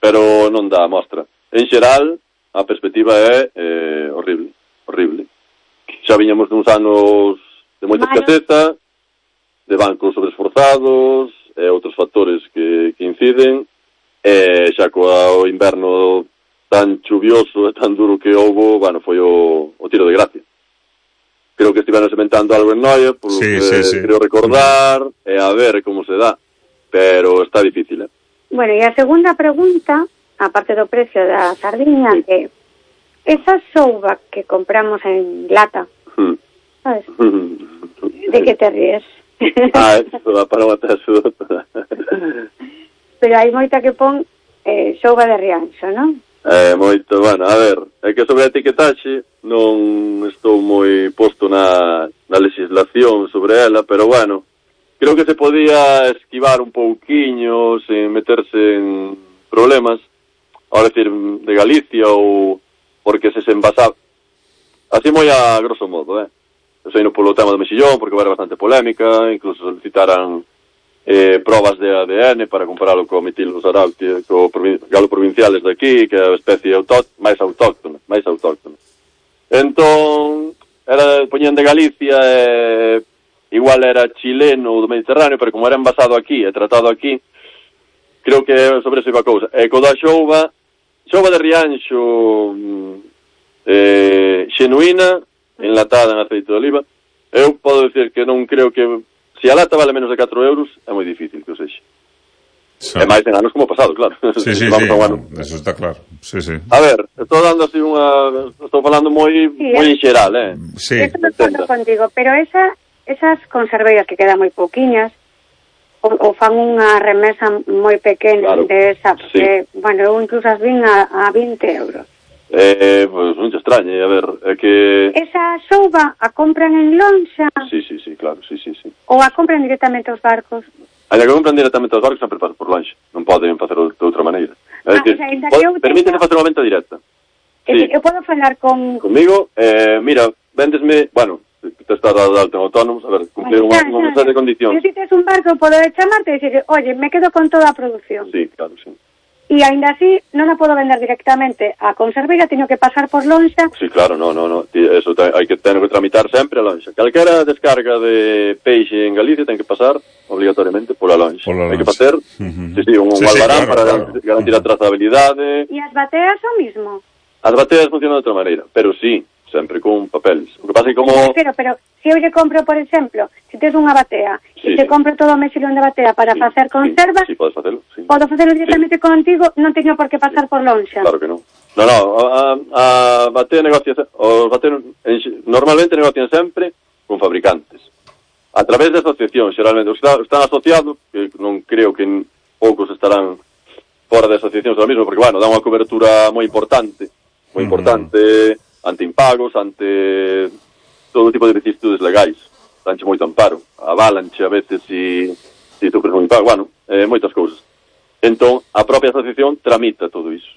pero non dá mostra. En xeral, a perspectiva é horrible. Xa viñamos duns anos de moita escaseza, de bancos sobreesforzados, e outros factores que inciden, e xa coa o inverno tan chuvioso e tan duro que houbo, bueno, foi o tiro de gracia. Creo que estiveron sementando algo en Noia, por lo que creo recordar, e a ver como se dá, pero está difícil, Bueno, e a segunda pregunta, aparte do precio da sardiña, que esa souba que compramos en lata, sabes? De que te ríes? Para matar a sudor. Pero hai moita que pon souba de Rianxo, non? Moito, bueno, a ver, é que sobre a etiquetaxe non estou moi posto na legislación sobre ela, pero bueno, creo que se podía esquivar un pouquiño sen meterse en problemas, ahora decir, de Galicia ou porque se envasaba así moi a grosso modo, eu sei no polo tema do mexillón, porque era bastante polémica, incluso solicitaran probas de ADN para compararlo co metilus arautia, co galo provinciales de aquí, que é a especie máis autóctona. Entón, poñían de Galicia, igual era chileno ou do Mediterráneo, pero como era envasado aquí e tratado aquí, creo que sobre eso iba a cousa. E co da xouba de Rianxo xenuína, enlatada en aceite de oliva, eu podo dicir que non creo que se a lata vale menos de 4 euros, é moi difícil que o sexa. É máis en anos como pasado, claro. Sí, eso está claro. A ver, estou falando moi en xeral, Sí. Eso me acordo contigo, pero esas conserveiras que quedan moi pouquiñas, ou fan unha remesa moi pequena de esa, porque, bueno, eu incluso as vin a 20 euros. Pois non te extrañe, a ver, é que... Esa souba a compran en lonxa? Sí, claro, sí. Ou a compran directamente aos barcos? A que compran directamente aos barcos sempre pasan por lonxa, non poden facer de outra maneira. É dicir, permíteme facer unha venta directa. Eu podo falar Comigo, mira, véndesme, bueno, te estás dado de alta en autónomos, a ver, cumplir unha serie de condicións. Se tes un barco, podo chamarte e dicir, oye, me quedo con toda a producción. Sí, claro, sí. E ainda así non a podo vender directamente a conserveira, teño que pasar por lonxa. Sí, claro, no, eso hai que tener que tramitar sempre a lonxa. Calquera descarga de peixe en Galicia ten que pasar obligatoriamente pola lonxa. Hai que facer un albarán para garantir a trazabilidade. E as bateas o mismo? As bateas funcionan de outra maneira, pero sí, sempre con papeles. O que pasa é como... Pero se eu lle compro, por exemplo, se tes unha batea, e te compro todo o mexilón de batea para facer conservas, sí, podes facelo, sí. Podo facelo directamente contigo, non teño por que pasar por lonxa. Claro que non. A batea negocia, os bateos normalmente negocian sempre con fabricantes. A través de asociación, xeralmente, os están asociados, que non creo que poucos estarán fora de asociacións ahora mismo, porque, bueno, dá unha cobertura moi importante, ante impagos, ante todo tipo de vicisitudes legais. Danche moito amparo. Avalanche a veces si sufres un impago. Bueno, moitas cousas. Entón, a propia asociación tramita todo iso.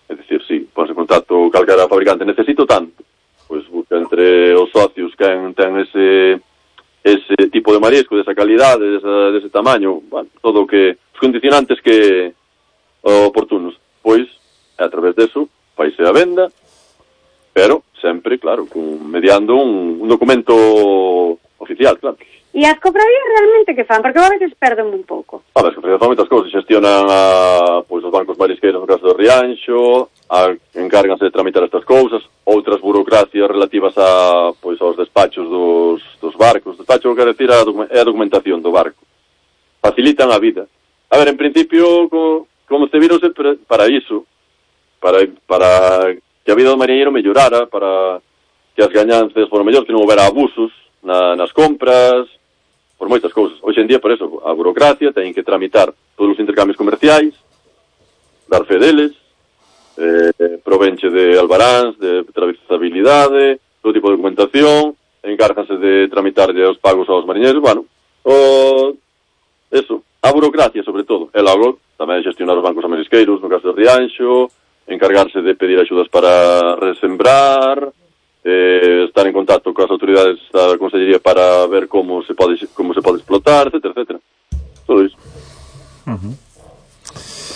É dicir, sí, ponse en contacto calquera fabricante. Necesito tanto. Pois busca entre os socios que ten ese tipo de marisco, desa calidade, dese tamaño, bueno, todo o que os condicionantes que oportunos. Pois, a través deso, faise a venda, pero sempre, claro, mediando un documento oficial, claro. E as cofradías realmente que fan? Porque a veces perden un pouco. As cofradías fan moitas cousas, xestionan os bancos marisqueiros no caso do Rianxo, encárganse de tramitar estas cousas, outras burocracias relativas aos despachos dos barcos. Despacho quer decir é a documentación do barco. Facilitan a vida. A ver, en principio, como se virose para iso, para que a vida do mariñeiro mellorara, para que as gañanzas foron mellores, que non houbera abusos nas compras, por moitas cousas. Hoxe en día, por eso, a burocracia ten que tramitar todos os intercambios comerciais, dar fe deles, provenche de albaráns, de trazabilidade, todo tipo de documentación, encárganse de tramitar os pagos aos mariñeiros, bueno, eso, a burocracia sobre todo. E logo tamén xestionar os bancos marisqueiros, no caso de Rianxo, encargarse de pedir axudas para resembrar, estar en contacto coas autoridades da Consellería para ver como se pode explotar, etcétera. Todo iso.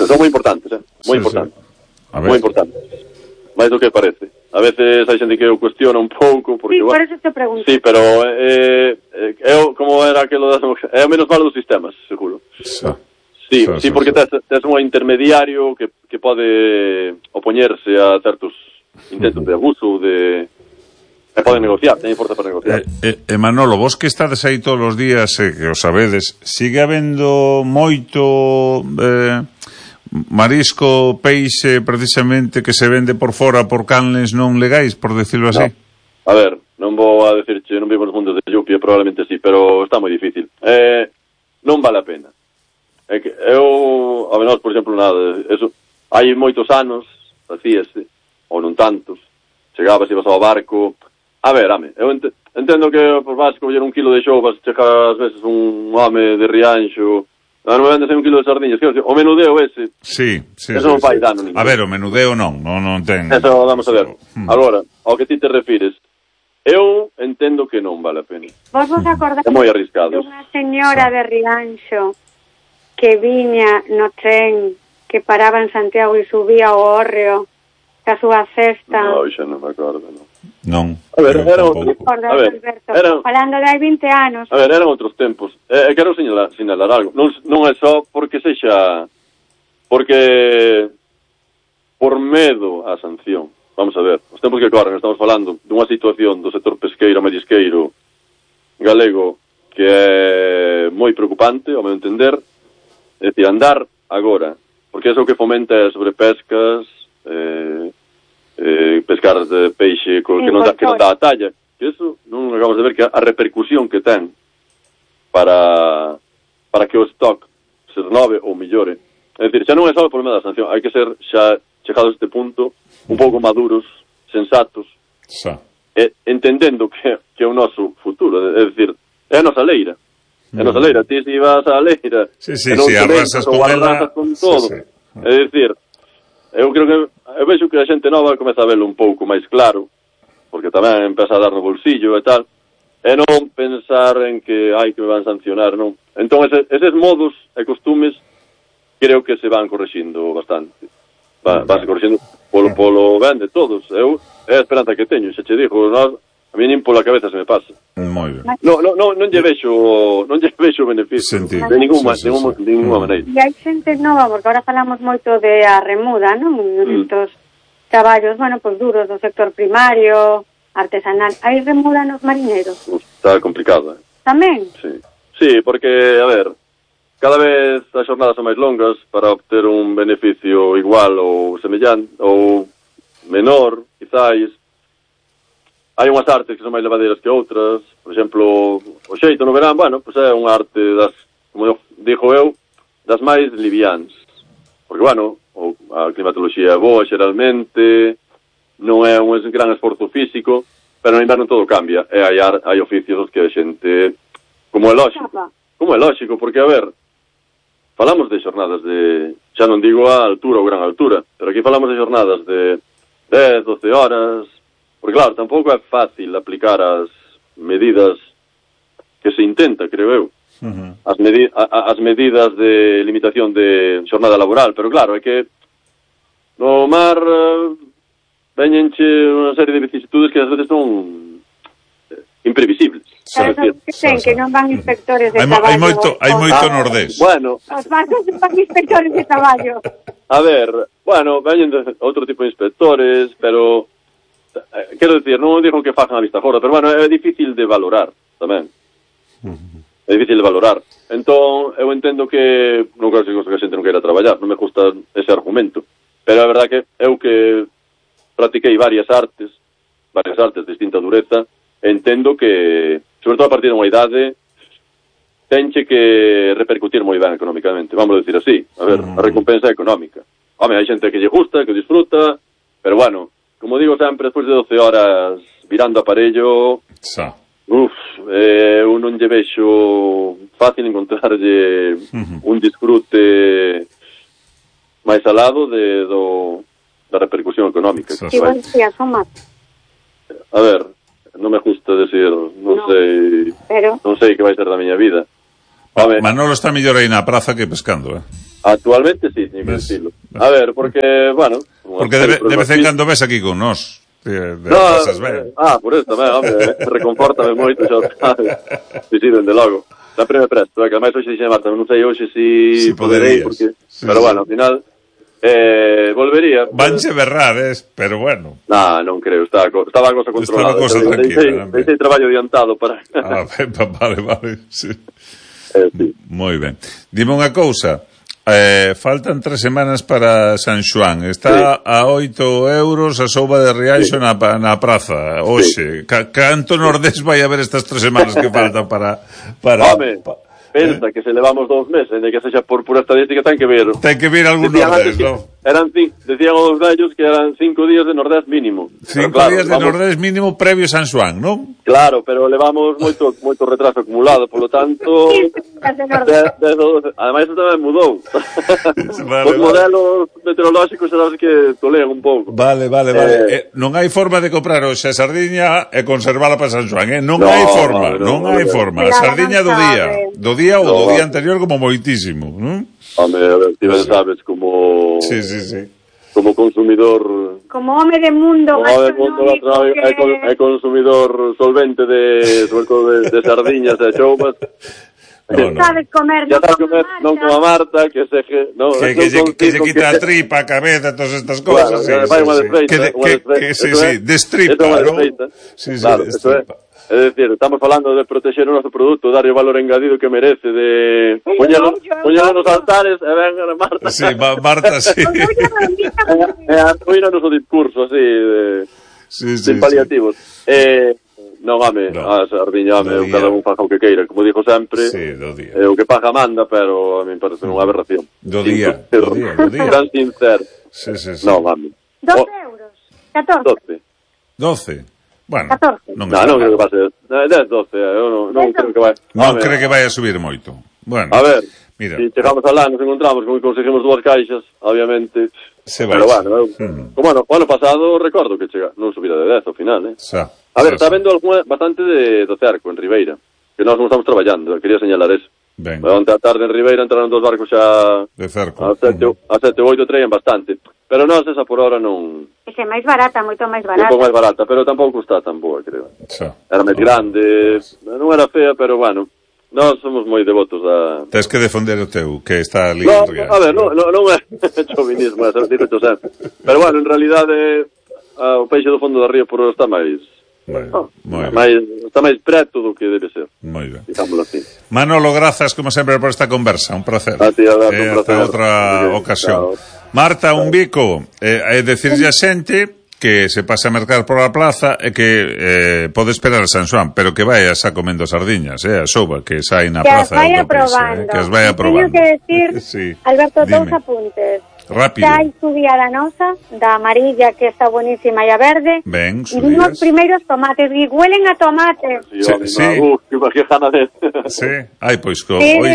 Son moi importantes, moi importante. Moi importante. Mais do que parece. A veces hai xente que o cuestiona un pouco porque, por eso te pregunto. Sí, pero como era aquilo é o menos malo dos sistemas, seguro. Sí, porque tes un intermediario que pode opoñerse a certos intentos de abuso e pode negociar, ten forza para negociar. Manolo, vos que estades aí todos os días, que o sabedes, sigue habendo moito marisco, peixe, precisamente, que se vende por fora por canles non legais, por decirlo así? No. A ver, non vou a decirche, non vivo nos mundos de Llupia, probablemente sí, pero está moi difícil. Non vale a pena. É que eu, a menos, por exemplo, nada, eso, hai moitos anos, facíase, ou non tantos, chegabas, ibas ao barco. A ver, eu entendo que por básico coller un kilo de xovas, chega ás veces un home de Rianxo, non me vendes un kilo de sardiñas, que o menudeo ese, eso non fai dano ningún. A ver, o menudeo non ten. Eso vamos a ver. Agora, ao que ti te refires, eu entendo que non vale a pena. Vos acordades é moi arriscado. Unha señora de Rianxo que viña no tren, que paraba en Santiago e subía ao hórreo ca súa cesta? Non, xa non me acordo, non. Non. A ver, falando de hai 20 anos. A ver, eran outros tempos. Quero sinalar algo. Non é só porque sexa... Porque... Por medo á sanción. Vamos a ver. Os tempos que corren, estamos falando dunha situación do sector pesqueiro, marisqueiro galego que é moi preocupante, ao meu entender. É dicir, andar agora. Porque é o que fomenta sobre pescas... pescar de peixe que non dá a talla, que eso non acabamos de ver que a repercusión que ten para que o stock se renove ou millore. É dicir, xa non é só o problema da sanción, hai que ser xa chegados a este punto un pouco maduros, sensatos, entendendo que é o noso futuro, é dicir, é a nosa leira. É a nosa leira, ti se vas á leira arrasas con ela con todo. É dicir, eu creo que eu vexo que a xente nova comeza a verlo un pouco máis claro, porque tamén empeza a dar no bolsillo e tal, e non pensar en que hai que me van sancionar, non. Entón, eses modos e costumes creo que se van correxindo bastante. Van se correxindo polo ben de todos. É a esperanza que teño, xa che digo, a mí nin pola cabeza se me pasa. Moi ben. Non lle vexo beneficio de ninguna maneira. E hai xente nova, porque ahora falamos moito de a remuda, non? Estos traballos, pues duros do sector primario, artesanal. Hai remuda nos mariñeiros? Está complicado, Tamén? Sí, porque, a ver, cada vez as xornadas son máis longas para obter un beneficio igual ou semellante, ou menor, quizáis. Hai unhas artes que son máis levadeiras que outras. Por exemplo, o xeito no verán, é unha arte das, como dixo eu, das máis livians. Porque, a climatoloxía é boa, xeralmente, non é un gran esforzo físico, pero no inverno todo cambia. E hai oficios que a xente, como é lógico, porque, a ver, falamos de xornadas de, xa non digo a altura ou gran altura, pero aquí falamos de xornadas de 10, 12 horas. Porque, claro, tampouco é fácil aplicar as medidas que se intenta, creo eu. As medidas de limitación de xornada laboral. Pero, claro, é que no mar veñenche unha serie de vicisitudes que ás veces son imprevisibles. Que non van inspectores de traballo. Hai moito nordés. Os barcos van inspectores de traballo. A ver, veñen outro tipo de inspectores, pero... Quero dicir, non digo que fajan a vista gorda, pero é difícil de valorar tamén. É difícil de valorar. Entón, eu entendo que non quero que a xente non queira traballar, non me gusta ese argumento. Pero a verdade que eu que practiquei varias artes de distinta dureza, entendo que, sobre todo a partir de unha idade, tenche que repercutir moi ben económicamente, vamos a decir así. A ver, a recompensa económica. Hai xente que lle gusta, que disfruta, pero como digo sempre, despois de 12 horas virando aparello, eu non lle vexo fácil encontrarlle un disfrute máis alado da repercusión económica. Igual que a soma. A ver, non me gusta decir, non sei que vai ser da miña vida. Manolo está mellor aí na praza que pescando, Actualmente sí, ni que decirlo. A ver, porque, bueno... Porque de vez en cando ves aquí con nós. Por eso tamén, hombre, reconfortame moito, xa sabes. Sí, dende logo. Sempre me presto, que ademais hoxe dixe Marta, non sei hoxe si poderei, porque... Pero bueno, ao final... volvería. Vanche berrar, pero bueno. Non creo, estaba a cosa controlada. Estaba a cosa tranquila. Deixei traballo adiantado para... Vale, sí. Sí. Moi ben. Dime unha cousa, faltan 3 semanas para San Xoán. Está a 8 euros a souba de Rianxo na praza, hoxe. Canto nordés vai haber estas 3 semanas que faltan para... Home, pensa que se levamos 2 meses, de que sexa por pura estadística, ten que ver. Ten que ver algún nordés, non? Decían os vellos que eran 5 días de nordés mínimo. 5 días de nordés mínimo previo San Xoán, non? Claro, pero levamos moito retraso acumulado, polo tanto... Ademais, isto tamén mudou. Os modelos meteorolóxicos será que tolean un pouco. Vale. Non hai forma de comprar hoxe a sardiña e conservala para San Xoán, Non hai forma. A sardiña do día ou do día anterior como moitísimo, non? Home, a ver, ti sabes como... Sí. Como consumidor... Como home de mundo gastronómico e consumidor solvente sobre todo de sardiñas e choubas. Sabes comer, non como a Marta, que se quita a tripa, a cabeza, todas estas cosas. Vai unha desfeita. Destripa, non? Sí, destripa. É dicir, estamos falando de proteger o noso produto, darlle o valor engadido que merece, de poñelo nos altares e venga a Marta. Sí, Marta, sí. E arruina o noso discurso, así, sin paliativos. Non, home, a sardiña, cada un faja o que queira, como dijo sempre, o que paga manda, pero a mí me parece unha aberración. Do día. Tan sincero. Sí. Non, home. 12 euros, 14. 12. Bueno, 14. Non creo que va a ser 10, 12, non creo que vai. Non creo que vai a subir moito. Bueno, a ver, mira. Si chegamos alá, nos encontramos con que conseguimos 2 caixas, obviamente. Pero bueno, como o ano pasado recordo que non subira de 10 ao final, A ver, está vendo bastante do cerco en Ribeira, que nós non estamos traballando, quería señalar eso. Onte a tarde en Ribeira entraron 2 barcos xa de cerco. A 7 ou 8 traían bastante. Pero nós esa por hora non... Ese é máis barata, moito máis barata. Un pouco máis barata, pero tampouco está tan boa, creo. Era máis grande, non era fea, pero bueno, nós somos moi devotos a... Tens que defender o teu, que está ali en Ribeira. A ver, non é chauvinismo, dito sempre. Pero bueno, en realidade, o peixe do fondo da río por hora está máis... Está máis preto do que debe ser. Moi ben. Digámoslo así. Manolo, grazas como sempre por esta conversa, un placer. A ti, Alberto, un placer. Hasta outra ocasión. Marta, un bico, decirlle a xente que se pase a mercar por a plaza e que pode esperar a San Xoán, pero que vayas a comendo sardiñas, a souba que sai na plaza. Que as vaya probando. Teño que decir, Alberto, 2 apuntes. Rápido. Hai subía da nosa, da amarilla, que está buenísima e a verde. Ben, e uns primeiros tomates, que huelen a tomate. Sí. Que gana de... Sí, pois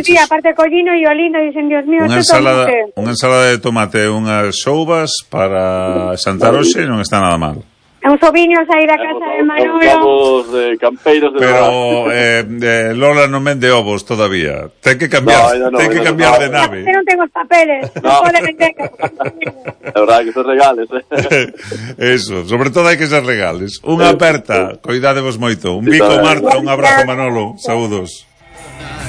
sí, aparte collino e olino, dicen, Dios mío, unha ensalada de tomate e unhas soubas para xantar hoxe non está nada mal. Uns oviños aí da casa de Manolo. Vamos de campeiros de... Pero Lola non vende ovos todavía. Ten que cambiar, de nave. Non tengo os papeles. Non pode vender. É verdade que se regales. Eso, sobre todo hai que ser regales. Unha aperta, coidádevos moito. Un bico, Marta, un abrazo, Manolo. Saúdos.